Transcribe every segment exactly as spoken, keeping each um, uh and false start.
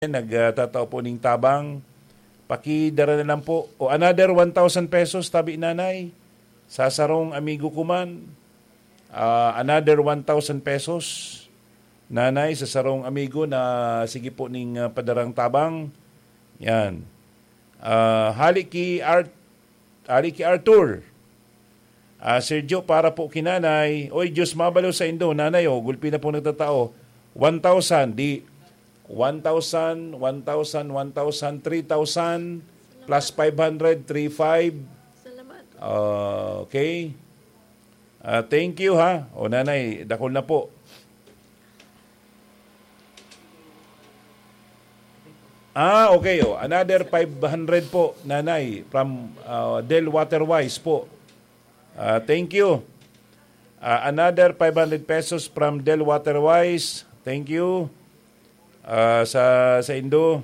nagtatao po ning tabang. Pakidara na lang po. O, another one thousand pesos, tabi nanay, sa sarong amigo ko man. Ah, another one thousand pesos, nanay, sa sarong amigo na sige po ning, ah, padarang tabang. Yan. Ah, hali ki Art-, hali ki Arthur. Ah, Sergio, para po ki nanay. Oy, Diyos mabalo sa indo, nanay, oh, gulpi na po nagtatao. One thousand, di, one thousand, one thousand, one thousand, three thousand, plus five hundred, three five. Salamat. Ah, okay. Ah, thank you, ha. O, nanay, dakul na po. Ah, okay, oh. Another five hundred po, nanay, from, ah, Del Waterwise po. Ah, thank you. Ah, another five hundred pesos from Del Waterwise. Thank you. Ah, sa, sa indo.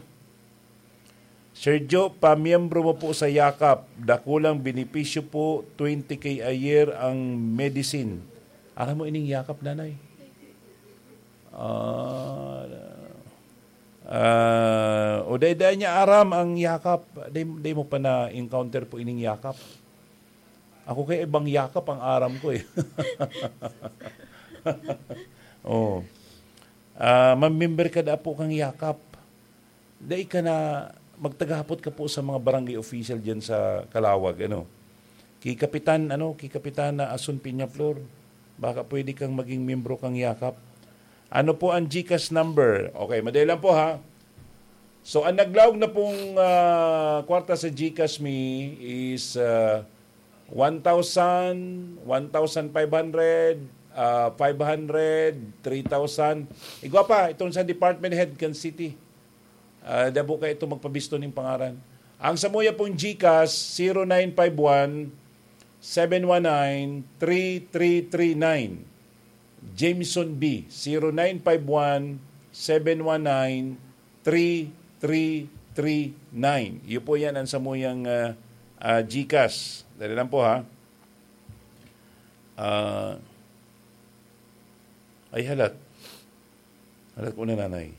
Sergio, pamiyembro mo po sa Yakap. Dakulang benepisyo po, twenty K a year ang medicine. Aram mo ining Yakap, nanay? Ah, ah, o dai, dai niya aram ang Yakap. Dai, dai mo pa na-encounter po ining Yakap. Ako kay ibang Yakap ang aram ko eh. Oh. Ah, mamember ka da po kang Yakap. Dai ka na, magtagahapot ka po sa mga barangay official diyan sa Calauag, ano. Ki Kapitan, ano, ki Kapitan na Asun Peñaflor, baka pwede kang maging miyembro kang Yakap. Ano po ang GCash number? Okay, madali lang po, ha. So, ang naglaog na pong, ah, kwarta sa GCash mi is, ah, one thousand, one thousand five hundred, ah, five hundred, three thousand. Igwa pa, itong sa department head kan city. Ah, dabo ka ito magpabisto ning pangaran. Ang samuya pong GCash, zero nine five one, seven one nine, three three three nine. Jameson B, zero nine five one, seven one nine, three three three nine. Iyo po yan ang samuyang, ah, ah, GCash. Dali lang po, ha. Ah, ay, halat. Halat ko na, nanay.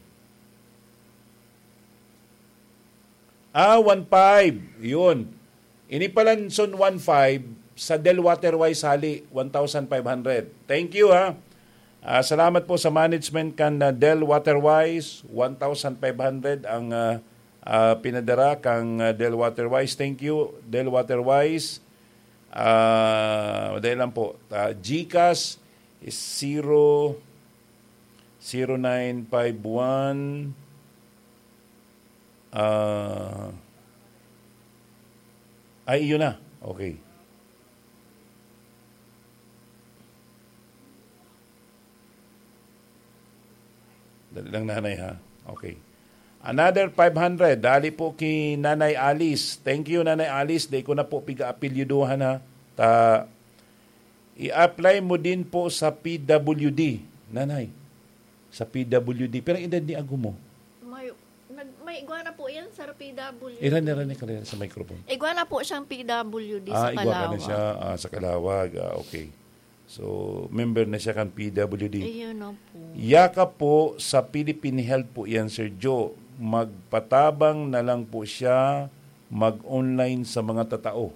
Ah, one five. Yun. Ini palan son one five, sa Del Waterwise hali, one thousand five hundred. Thank you, ha. Ah, salamat po sa management kan, ah, Del Waterwise. One thousand five hundred ang, ah, ah, pinadara kang, ah, Del Waterwise. Thank you, Del Waterwise. Ah, dahil lang po, ah, GCash is zero, zero nine five one, ah, ay, iyon na. Okay. Dali lang, nanay, ha? Okay. Another five hundred. Dali po ki Nanay Alice. Thank you, Nanay Alice. Di ko na po piga-apelyiduhan, ha? Ta, i-apply mo din po sa P W D, Nanay. Sa P W D. Pero ang edad ni ago mo? May, nag, may igwa na po yan, sir, P W D. Iran, iran ni kanila sa microphone. Igwa na po siyang P W D sa Ah, igwa ka na Calauag. siya, ah, sa Calauag. Ah, okay. So, member na siya kan P W D. Ayun na po. Yakap po sa Philippine Health po yan, Sir Joe. Magpatabang na lang po siya mag-online sa mga tatao.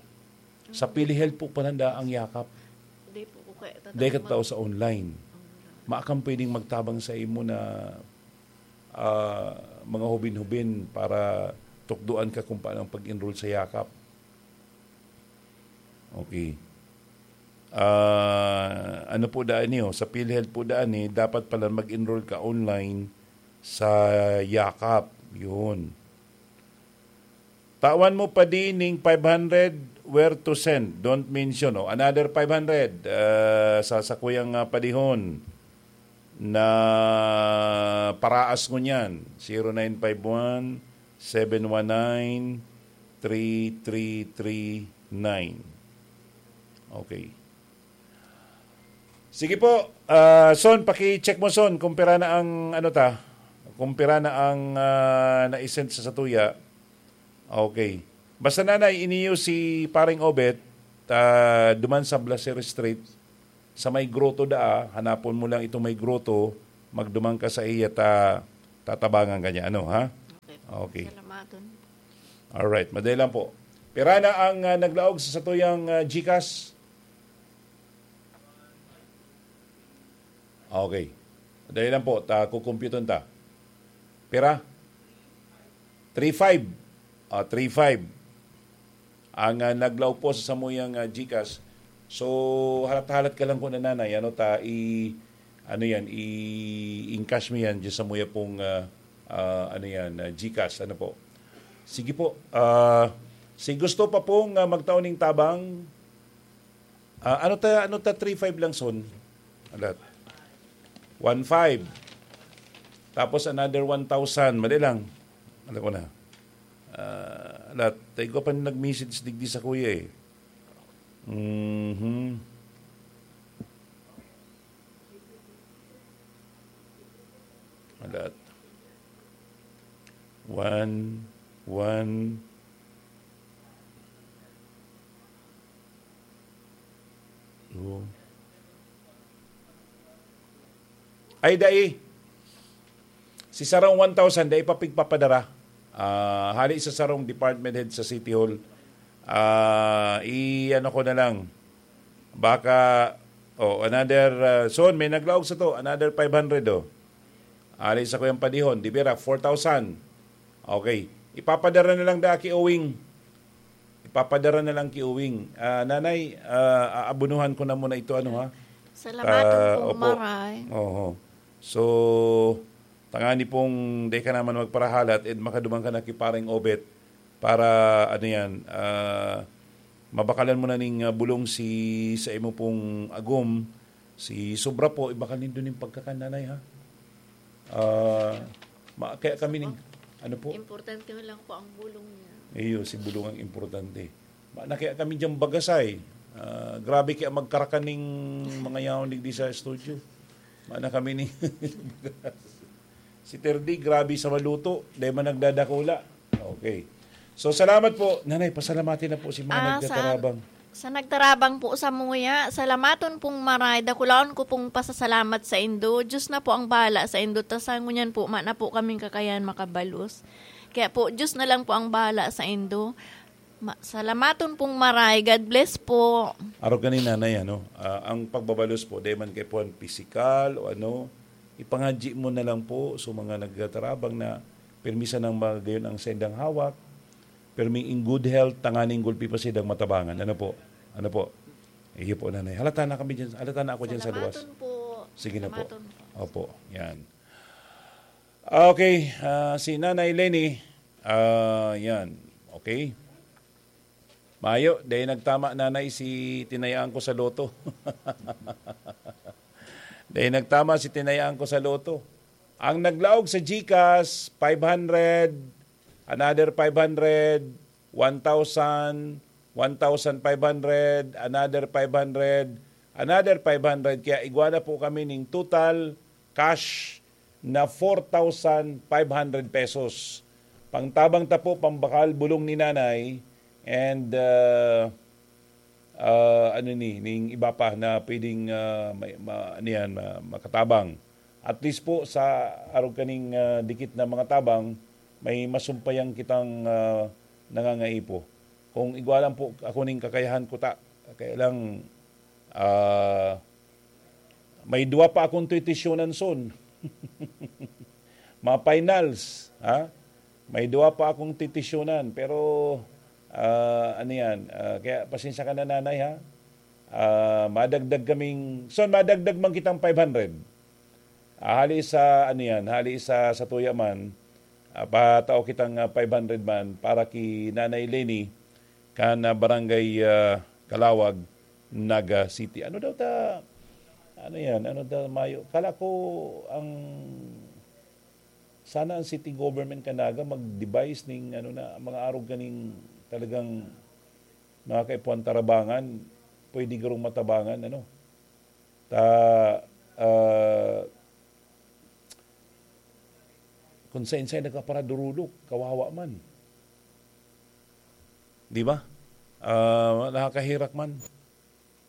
Sa PhilHealth po pala nda ang Yakap. Di po ko kaya Dahil tatawag katao sa online. Maakang pwedeng magtabang sa imo na, ah, mga hubin-hubin para tukdoan ka kung paano ang pag-enroll sa Yakap. Okay. Ah, ano po daan niyo? Sa PhilHealth po daan eh, dapat pala mag-enroll ka online sa Yakap. Yun. Tawan mo pa din ning five hundred, where to send? Don't mention. Oh, another five hundred, ah, sa sakuyang, ah, padihon na paraas ngunyan. Zero nine five one, seven one nine, three three three nine. Okay. Sige po, ah, Son, paki-check mo, Son, kung pira na ang, ano ta, kung pira na ang, ah, na-send sa satuya. Okay. Basta, Nanay, iniyo si Paring Obet, ah, duman sa Blaser Street, sa may grotto daa, hanapon mo lang itong may grotto, magduman ka sa iya, ta-, tatabangan ka niya. Ano, ha? Okay. Salamaton. Alright, madali lang po. Pira na ang, ah, naglaog sa satuyang, ah, GCash? Okay. Madali lang po, ta kukumpyuton ta. Pira? Three five. Ah, three five. Ang, ah, naglaog po sa samuyang, ah, GCash. So, halat-halat ka lang po, Nanay, ano ta, i-, ano yan, i-encash mo yan dyan sa muya pong, ah, ah, ano yan, ah, GCash, ano po. Sige po, ah, si gusto pa pong, ah, magtao ning tabang, ah, ano ta, ano ta, three five lang son? Alat. One five. Tapos another one thousand. Madali lang. Alam ko na. Ah, alat. Tayo ko pa nag-message digdi sa kuya eh. Mhm. Alat. One, one, two. Ay, dai. Si sarong one thousand, dai pa pigpapadara. Ah, hali sa sarong department head sa City Hall. Ah, i-ano ko na lang. Baka, oh, another, ah, son, may naglaog sa to. Another five hundred, oh. Hali sa kuyang padihon, di bira, four thousand. Okay. Ipapadara na lang da ki Owing. Ipapadara na lang ki Owing. Ah, Nanay, ah, aabonohan ko na muna ito, ano, ha? Salamaton Ah, pong opo. Maray. Oho. So, tangani pong di ka naman magparahalat, and makaduman ka na ki Pareng Obet para, ano yan, ah, mabakalan mo na ning, ah, bulong si, sa imo pong agom, si sobra po, ibakal nindo ning pagkakan, Nanay, ha? Ah, ma-, kaya kami ning, ano po? Importante lang po ang bulong niya. Iyo, si bulong ang importante. Ma-, na kaya kami diyang bagasay. Ah, grabe kaya magkarakan ning mga yaon digdi sa studio. Mana kami ni si Terdi, grabe sa maluto. Dahil man nagdadakula. Okay. So, salamat po. Nanay, pasalamati na po si mga Ah, sa nagtatarabang. Sa nagtarabang po sa muya, salamaton pong maray, dakulaon ko pong pasasalamat sa indo. Diyos na po ang bahala sa indo, ta sa ngunyan po, ma na po kaming kakayan makabalos. Kaya po, Diyos na lang po ang bahala sa indo. Ma-, salamaton pong maray. God bless po. Arog ka ni nanay, ano? Ah, ang pagbabalos po, di man kay puwan pisikal o ano, ipangadji mo na lang po sa mga nagtatarabang na pirmi sanang magayon ang sendang hawak, pirmi in good health, tanganing gulpi pa sidang matabangan. Ano po? Ano po? Iyo po, nanay. Halata na kami dyan. Halata na ako dyan sa luwas. Salamaton po. Sige na po. Salamaton po. Opo, yan. Okay, ah, si Nanay Leni, ah, yan. Okay. Mayo, dahil nagtama, Nanay, si tinayaan ko sa loto. Dahil nagtama si tinayaan ko sa loto. Ang naglaog sa GCash, five hundred, another five hundred, one thousand, one thousand five hundred, another five hundred, another five hundred. Kaya igwa na po kami ning total cash na four thousand five hundred pesos. Pangtabang ta po, pambakal, bulong ni Nanay, and, ah, ah, ano ni, ning iba pa na pwedeng, ah, may, ma-, ano yan, ma-, makatabang. At least po, sa arog kaning, ah, dikit na mga tabang, may masumpayan kitang, ah, nangangaipo. Kung igwa lang po, ako ning kakayahan ko ta. Kaya lang, ah, may duwa pa akong titisyonan son. Mga finals, ha? May duwa pa akong titisyonan, pero, ah, ano yan, ah, kaya pasensya ka na, Nanay, ha? Ah, madagdag kaming, son, madagdag man kitang five hundred. Ah, hali sa, ano yan, hali sa, sa tuya man, ah, patao kitang, ah, five hundred man para ki Nanay Leni, kan, ah, Barangay, ah, Calawag, Naga City. Ano daw ta, ano yan, ano daw mayo? Kala ko ang, sana ang city government kan Naga mag-devise ning, ano na, mga arog kaning talagang mga kaipuhan tarabangan, pwede garong matabangan, ano? Ta, ah, kung sain-sain nagkaparadurulok, kawawa man. Di ba? Ah, nakakahirak man.